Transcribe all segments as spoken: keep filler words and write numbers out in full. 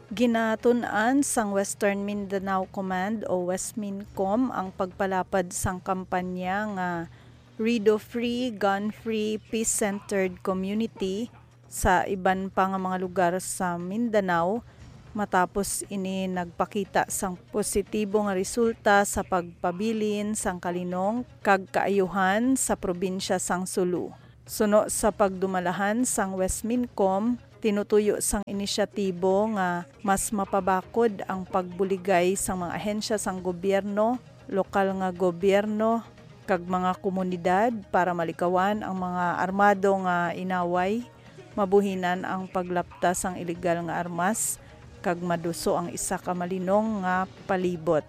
Ginatun-an sang Western Mindanao Command o Westmincom ang pagpalapad sang kampanya nga Rido Free, Gun Free, Peace-Centered Community sa iban pa nga mga lugar sa Mindanao, matapos ini nagpakita sang positibo nga resulta sa pagpabilin sang kalinong kag kaayuhan sa probinsya sang Sulu. Suno sa pagdumalahan sang Westmincom, tinutuyo sang inisyatibo nga mas mapabakod ang pagbuligay sang mga ahensya sang gobyerno, lokal nga gobyerno, kag mga komunidad para malikawan ang mga armado nga inaway, mabuhinan ang paglapta sang ilegal nga armas, kag maduso ang isa ka malinong nga palibot.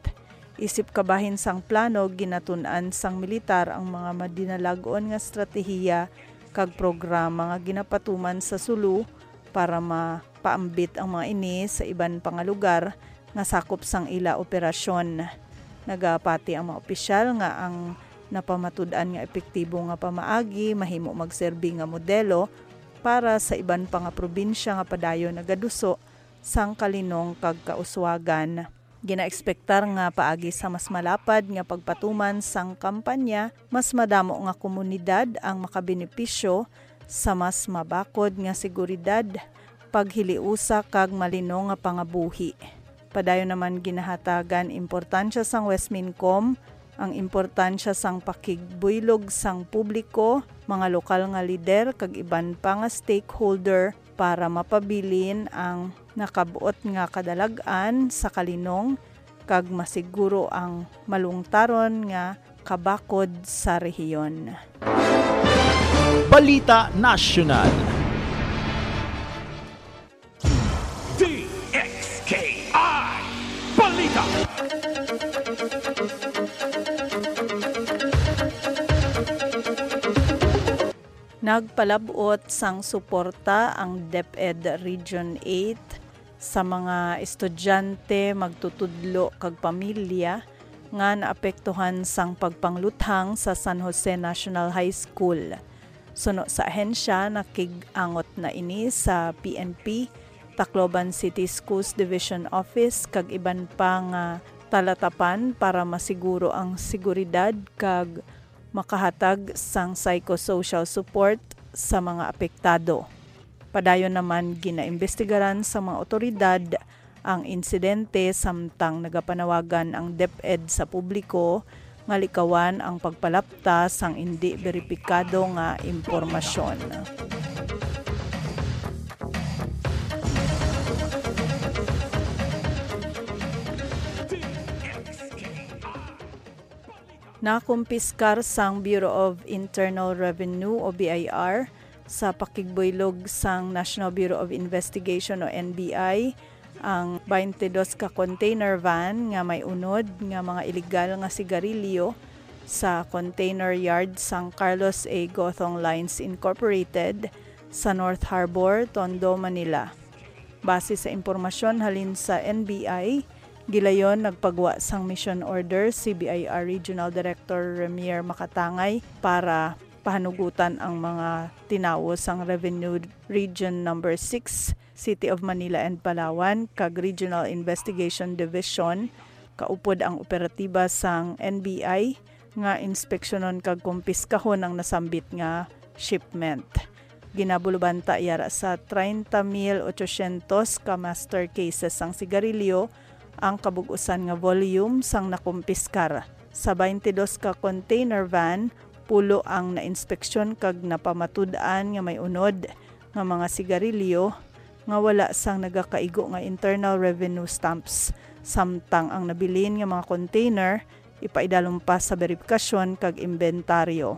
Isip kabahin sang plano, ginatun-an sang militar ang mga madinalag-on nga estratehiya kag programa nga ginapatuman sa Sulu para mapaambit ang mga ini sa iban pa nga lugar nga sakop sang ila operasyon. Nagapati ang mga opisyal nga ang napamatud-an nga epektibo nga pamaagi mahimo magserbi nga modelo para sa iban pa nga probinsya nga padayon nagaduso sang kalinong kag kauswagan. Ginaekspektar nga paagi sa mas malapad nga pagpatuman sang kampanya, mas madamo nga komunidad ang makabenepisyo sa mas mabakod nga seguridad, paghiliusa kag malinong nga pangabuhi. Padayon naman ginahatagan importansya sang Westmincom ang importansya sang pakigbuylog sang publiko, mga lokal nga lider kag iban pa nga stakeholder para mapabilin ang nakab-ot nga kadalag-an sa kalinong kag masiguro ang malungtaron nga kabakod sa rehiyon. Balita Nasyonal. D X K I Balita. Nagpalab-ot sang suporta ang DepEd Region eight sa mga estudyante, magtutudlo, kag pamilya nga naapektuhan sang pagpangluthang sa San Jose National High School. Suno sa ahensya, nakig-angot na ini sa P N P, Tacloban City Schools Division Office, kag iban pa nga talatapan para masiguro ang seguridad kag makahatag sang psychosocial support sa mga apektado. Padayon naman, ginaimbestigaran sa mga awtoridad ang insidente, samtang nagapanawagan ang DepEd sa publiko nga likawan ang pagpalapta sang indi beripikado nga impormasyon. Nakumpiskar sang Bureau of Internal Revenue o B I R sa pakigbuylog sang National Bureau of Investigation o N B I ang twenty-dos ka container van nga may unod nga mga iligal nga sigarilyo sa container yard sang Carlos A. Gothong Lines Incorporated sa North Harbor, Tondo, Manila. Base sa impormasyon halin sa N B I, gilayon nagpagwa sang mission order si B I R Regional Director Remier Makatangay para pahanugutan ang mga tinawo sang Revenue Region Number Six, City of Manila and Palawan, kag Regional Investigation Division, kaupod ang operatiba sang N B I nga inspeksyonon kag kumpiskahon ang nasambit nga shipment. Ginabulubanta yara sa treinta mil ochocientos ka master cases sang sigarilyo ang kabug-usan nga volume sang nakumpiskar. Sa twenty-dos ka container van, pulo ang nainspeksyon kag napamatud-an nga may unod nga mga sigarilyo nga wala sang nagakaigo nga internal revenue stamps, samtang ang nabilin nga mga container ipaidalom pa sa beripikasyon kag imbentaryo.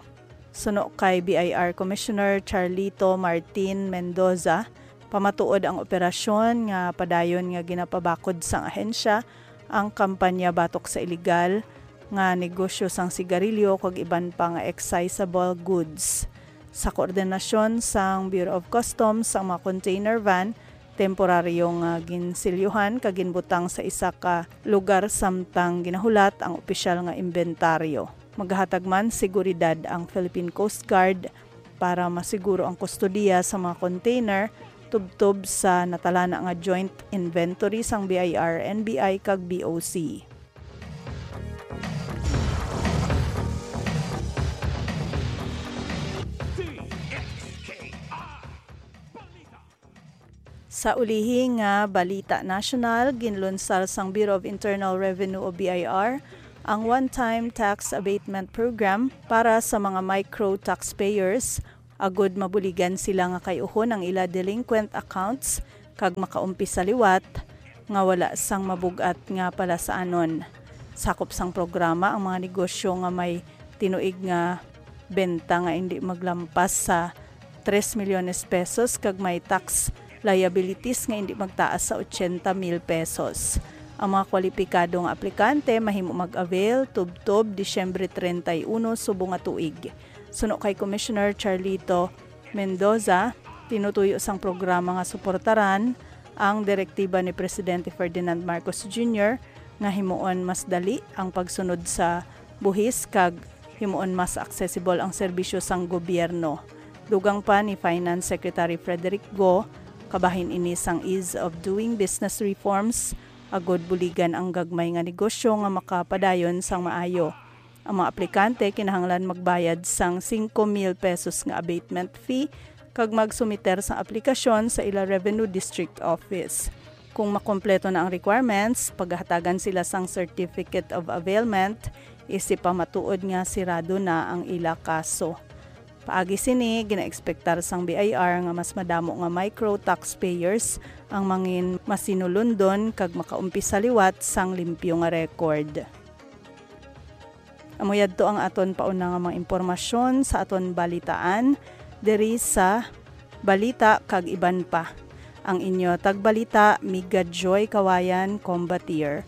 Suno kay B I R Commissioner Charlito Martin Mendoza, pamatuod ang operasyon nga padayon nga ginapabakod sang ahensya ang kampanya batok sa iligal nga negosyo sang sigarilyo kag iban pa nga excisable goods. Sa koordinasyon sang Bureau of Customs, ang mga container van temporaryo nga ginsilyuhan kag ginbutang sa isa ka lugar, samtang ginahulat ang opisyal nga imbentaryo. Magahatag man seguridad ang Philippine Coast Guard para masiguro ang kustodiya sa mga container tubtob sa natalana nga joint inventory sang B I R, N B I, kag B O C. Sa ulihi nga balita nasyonal, ginlunsar sang Bureau of Internal Revenue o B I R ang one-time tax abatement program para sa mga micro taxpayers, agud mabuligan sila nga kay-uhon ang ila delinquent accounts kag makaumpisa liwat nga wala sang mabug-at nga palasaanon. Sakop sang programa ang mga negosyo nga may tinuig nga benta nga indi maglampas sa tres milyones pesos kag may tax liabilities nga indi magtaas sa ochenta mil pesos. Ang mga kwalipikado nga aplikante mahimo mag-avail tubtob Disyembre treinta y uno subong nga tuig. Suno kay Commissioner Charlito Mendoza, tinutuyo sang programa nga suportaran ang direktiba ni Presidente Ferdinand Marcos Junior nga himuon mas dali ang pagsunod sa buhis kag himuon mas accessible ang serbisyo sang gobyerno. Dugang pa ni Finance Secretary Frederick Go, kabahin ini sang ease of doing business reforms, agud buligan ang gagmay nga negosyo nga makapadayon sang maayo. Ang mga aplikante kinahanglan magbayad sang singko mil pesos nga abatement fee kag magsumiter sang aplikasyon sa ila Revenue District Office. Kung makompleto na ang requirements, pagahatagan sila sang Certificate of Availment, isip pa matuod nga sirado na ang ila kaso. Paagi sini, ginaekspektar sang B I R nga mas madamo nga micro taxpayers ang mangin masinulundon kag makaumpisa liwat sang limpyo nga record. Amo yadto ang aton pauna nga mga impormasyon sa aton balitaan diri sa Balita kag Iban Pa. Ang inyo tagbalita, Miga Joy Kawayan, Combatir.